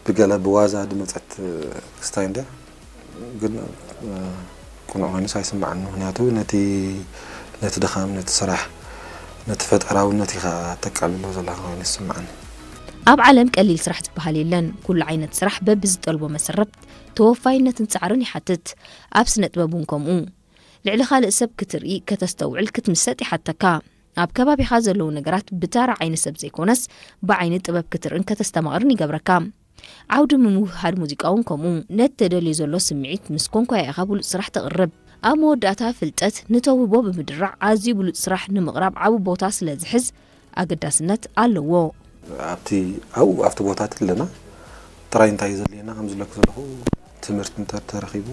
ብገለ ብዋዛ ዝመጸት ክስታይ እንድያ፣ ግን ቅኑዕ ኮይኑስ ኣይስምዓኒ። ምክንያቱ ነቲ ነቲ ድኻም፣ ነቲ ስራሕ፣ ነቲ ፈጠራውነት ኢኻ ተቃልሎ ዘለኻ ኮይኑ ይስምዓኒ። ኣብ ዓለም ቀሊል ስራሕ ዝበሃል የለን። ኩሉ ዓይነት ስራሕ በብዝጠልቦ መሰረት ተወፋይነትን ጻዕርን ይሓትት። ኣብ ስነ ጥበብ እውን ከምኡ። ልዕሊ ካልእ ሰብ ክትርኢ፣ ከተስተውዕል፣ ክትምሰጥ ይሓተካ። ኣብ ከባቢኻ ዘለዉ ነገራት ብታራ ዓይኒ ሰብ ዘይኮነስ ብዓይኒ ጥበብ ክትርእን ከተስተማቕርን ይገብረካ። ዓውዲ ምምውህሃድ ሙዚቃ እውን ከምኡ። ነቲ ተደልዮ ዘሎ ስምዒት ምስ ኮንኳያ ኢኻ ብሉጽ ስራሕ ተቕርብ። ኣብ መወዳእታ ፍልጠት ንተውህቦ ብምድራዕ ኣዝዩ ብሉጽ ስራሕ ንምቕራብ ዓቢ ቦታ ስለ ዝሕዝ ኣገዳስነት ኣለዎ። ኣብቲ ኣብኡ ኣብቲ ቦታት ኣለና ጥራይ እንታይ እዩ ዘድልየና ከም ዝለኩ ዘለኹ ትምህርቲ እንተተረኺቡ